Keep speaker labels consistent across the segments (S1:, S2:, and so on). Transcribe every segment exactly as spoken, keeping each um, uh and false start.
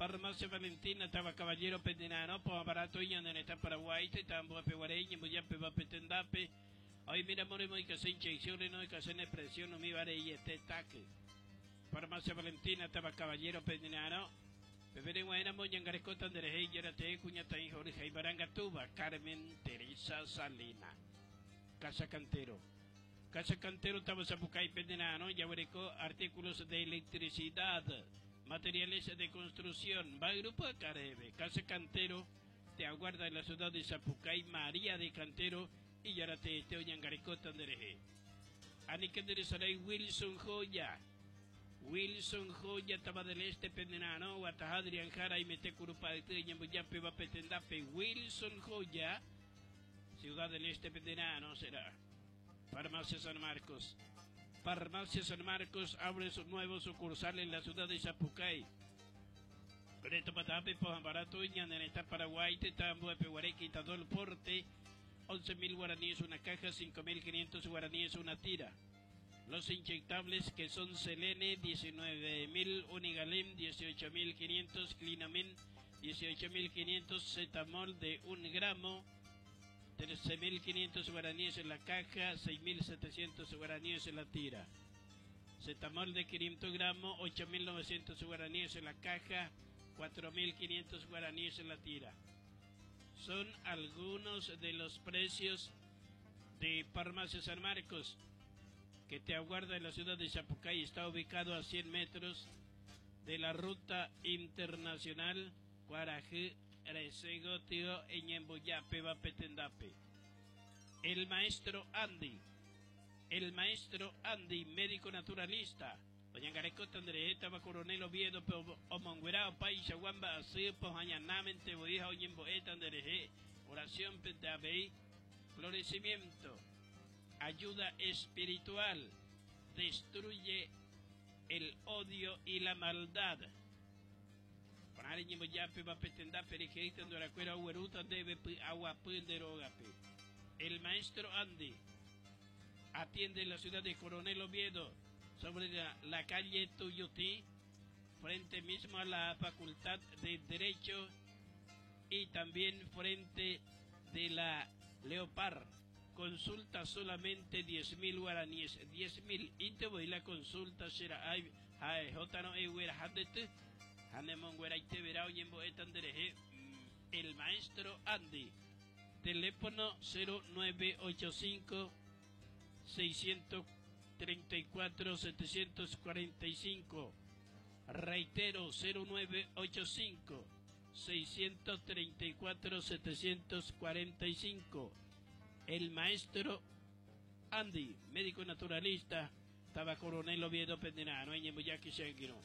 S1: Farmacia Valentina, Tava Caballero, Pendenano, Barato, Ñandaneta, Paraguay, Tambo, Peguarey, Ñembuyape, Vapetendape. Hoy mira, moremo y que inyecciones, no hay que hacer presión, no mi vare y este taque. Farmacia Valentina, Tava Caballero, Pendenano. Bebere Guayna, Moñangarescota, Anderejey, Yarate, Cuñatay, Jorge, Tuba, Carmen Teresa Salina. Casa Cantero. Casa Cantero, Tava Zapucay, Pendenano, Yahuereco, artículos de electricidad, materiales de construcción, va Grupo Caribe. Casa Cantero te aguarda en la ciudad de Zapucay, María de Cantero y Yarate, Teoñangarecota, Andereje. Anikenderesaray Wilson Joya. Wilson Joya, Taba del Este, Pendenano, Guatajadrian Jara y Metecurupa de Teñambuyape, Vapetendape. Wilson Joya, Ciudad del Este, Pendenano será. Farmacia San Marcos. Farmacia San Marcos abre su nuevo sucursal en la ciudad de Zapucay. Preto Patape, Pojambarato, Ñandaneta, Paraguay, Tetambo, Peguareque, Tadol Porte, once mil guaraníes una caja, cinco mil quinientos guaraníes una tira. Los inyectables que son Selene, diecinueve mil, Unigalem, dieciocho mil quinientos, Clinamin, dieciocho mil quinientos, Cetamol de un gramo, trece mil quinientos guaraníes en la caja, seis mil setecientos guaraníes en la tira. Cetamol de quinientos gramos, ocho mil novecientos guaraníes en la caja, cuatro mil quinientos guaraníes en la tira. Son algunos de los precios de Farmacia San Marcos, que te aguarda en la ciudad de Zapucay. Está ubicado a cien metros de la ruta internacional Cuarajú, Resegotio, Eñembuyape, Vapetendape. El maestro Andy, el maestro Andy, médico naturalista. Oñangarecota, Andrejeta, Coronel Oviedo, Omonguerao, Paisa, Guamba, Asipo, Añanamente, Boija, Oñemboeta, Andreje, oración, Petabey, florecimiento, ayuda espiritual, destruye el odio y la maldad. El maestro Andy atiende en la ciudad de Coronel Oviedo, sobre la, la calle Tuyutí, frente mismo a la Facultad de Derecho y también frente de la Leopard. Consulta solamente diez mil guaraníes, diez mil. Y te voy la consulta será ay, ay, j no e huera jadete, hanemon huera y te verá oyembo etandereje. El maestro Andy, teléfono cero nueve ocho cinco seiscientos treinta y cuatro setecientos cuarenta y cinco. Reitero, cero nueve ocho cinco seiscientos treinta y cuatro setecientos cuarenta y cinco. El maestro Andy, médico naturalista, estaba Coronel Oviedo Pendenano, en Yemuyaki Shengiro.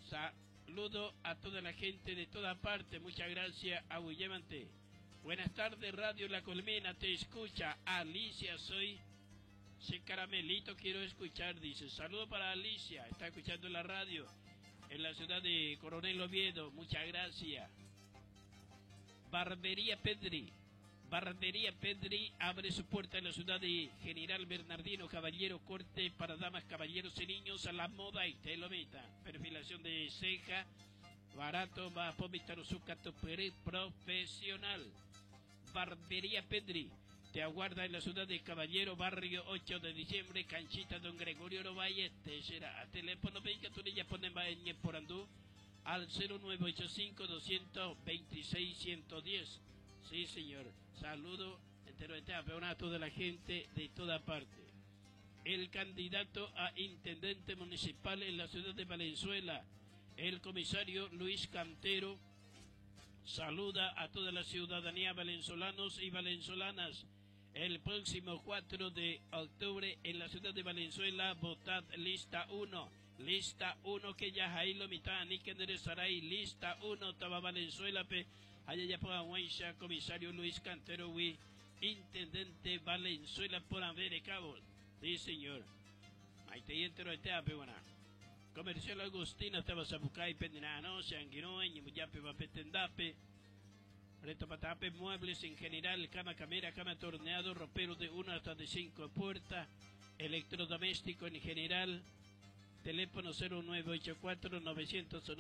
S1: Saludo a toda la gente de toda parte, muchas gracias, Aguyemante. Buenas tardes, Radio La Colmena, te escucha Alicia, soy ese caramelito, quiero escuchar, dice. Saludo para Alicia, está escuchando la radio en la ciudad de Coronel Oviedo, muchas gracias. Barbería Pedri. Barbería Pedri abre su puerta en la ciudad de General Bernardino Caballero, corte para damas, caballeros y niños a la moda y te lo meta. Perfilación de ceja, barato, va a profesional. Barbería Pedri te aguarda en la ciudad de Caballero, barrio ocho de diciembre, canchita Don Gregorio Ovalle, te será a teléfono, venga, tú le ya ponen por andú al cero nueve ocho cinco doscientos veintiséis ciento diez. Sí, señor. Saludo entero de a toda la gente de toda parte. El candidato a intendente municipal en la ciudad de Valenzuela, el comisario Luis Cantero, saluda a toda la ciudadanía valenzolanos y valenzolanas. El próximo cuatro de octubre en la ciudad de Valenzuela, votad lista uno. Lista uno que ya ahí lo mitad, ni que enderezaray, lista uno, taba Valenzuela, pe. Allá ya por Aguaisha, comisario Luis Cantero, wi, intendente Valenzuela por Amber Cabo. Sí, señor. Ahí te entero este ape, buena. Comercial Agustina, estaba Zapucay, Pendenano, Sanguino, Ñimuyape, Vapetendape. Reto Patape, muebles en general, cama camera, cama torneado, ropero de una hasta de cinco puertas, electrodoméstico en general, teléfono cero nueve ocho cuatro novecientos noventa.